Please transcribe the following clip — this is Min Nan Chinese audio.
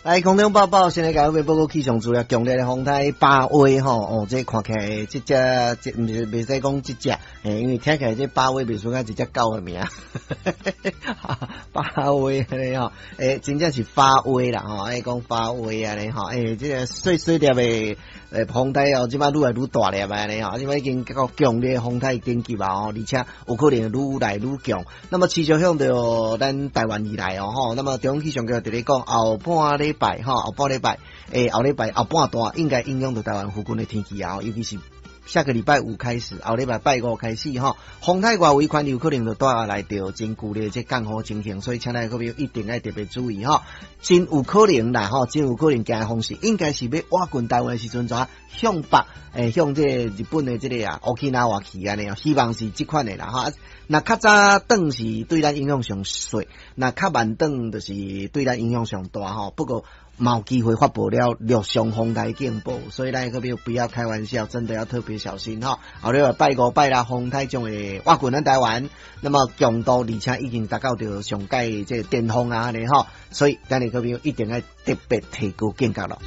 來空中報報，先來共各位報告氣象資料，強烈的風颱巴威吼，哦，這看起來這隻這毋是袂使講這隻，欸，因為聽起來這巴威袂輸甲一隻狗的名，巴威按呢吼，欸，真正是發威啦吼，愛講發威按呢吼，欸，這個細細粒的欸風颱哦，這擺愈來愈大粒按呢吼，這擺已經到強烈風颱等級啊吼，而且有可能愈來愈強。那麼持續向著咱台灣以來哦吼，那麼中央氣象局佇咧講後半禮拜吼，後半禮拜，欸，後禮拜後半段應該影響著台灣附近的天氣啊，尤其是下個禮拜五開始，後禮拜拜五開始吼，風颱外圍環有可能就帶來著真劇烈這降雨情形，所以請咱各位一定愛特別注意吼，真有可能啦吼，真有可能行的方式，應該是欲倚近台灣的時陣，怎向北，欸，向這個日本的這個啊，沖去按呢，希望是這款的啦吼。若較早轉是對咱影響上細，若較慢轉就是對咱影響上大吼。不過嘛有機會發布了陸上風颱警報，所以咱閣不要開玩笑，真的要特別小心吼。後禮拜拜五拜六風颱將會倚近咱台灣，那麼強度而且已經達到著上蓋這個巔峰啊按呢吼，所以咱閣一定愛特別提高警覺咯。